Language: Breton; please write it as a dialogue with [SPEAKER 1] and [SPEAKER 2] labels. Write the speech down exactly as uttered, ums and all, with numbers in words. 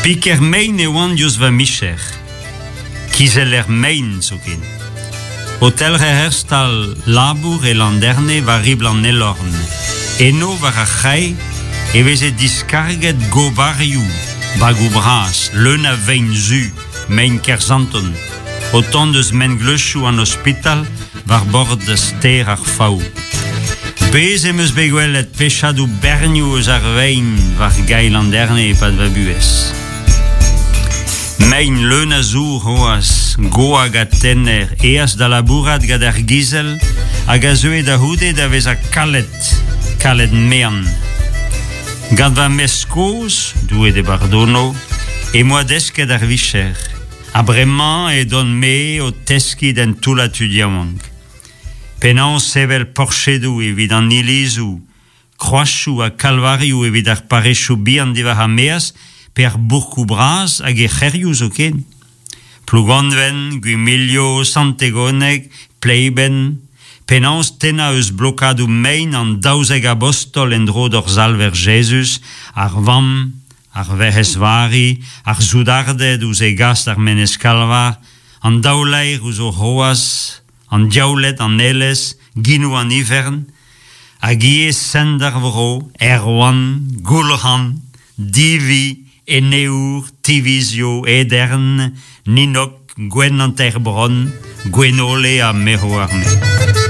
[SPEAKER 1] Piker mein e oan diouzh va micher. Kizeller mein zoken. O telc'her ur stal labour e Landerne war ribl an Elorn. Eno war ar c'hae e veze diskarget gobarioù, bagoù bras, leun a vein zu, mein Kerzanton, o tont eus mengleuzioù an ospital war bord stêr ar Faou. Bez em eus bet gwelet pechadoù bernioù eus ar vein war gae Landerne e-pad va buhez. Mein leun a zour c'hoazh, goag ha tener, aes da labourat gant ar gizell hag a zeue da c'houde da vezañ kalet, kalet mean. Gant va mestr kozh, Doue d'e bardono, em boa desket ar vicher. Ha bremañ edon me o teskiñ d'un toullad tud yaouank. Penaos sevel porchedoù evit an ilizoù, kroazioù ha kalvarioù evit ar parrezioù bihan diwar ar maez pe ar bourkoù bras hag er c'hêrioù zoken. Plougonven, Gwimilio, Sant-Tegoneg, Pleiben, penaos tennañ eus blokadoù mein an daouzek abostol en-dro d'hor Salver Jezuz, ar vamm, ar Werc'hez Vari, ar soudarded ouzh e gas d'ar Menez Kalvar, an daou laer ouzh o c'hroaz, an diaouled, an aelez, ginoù an ifern, hag ivez sent ar vro, Erwan, Goulc'han, Divi, Eneour, Tivizio, Edern, Ninnog, Gwenn an teir bronn, Gwenole ha me 'oar-me.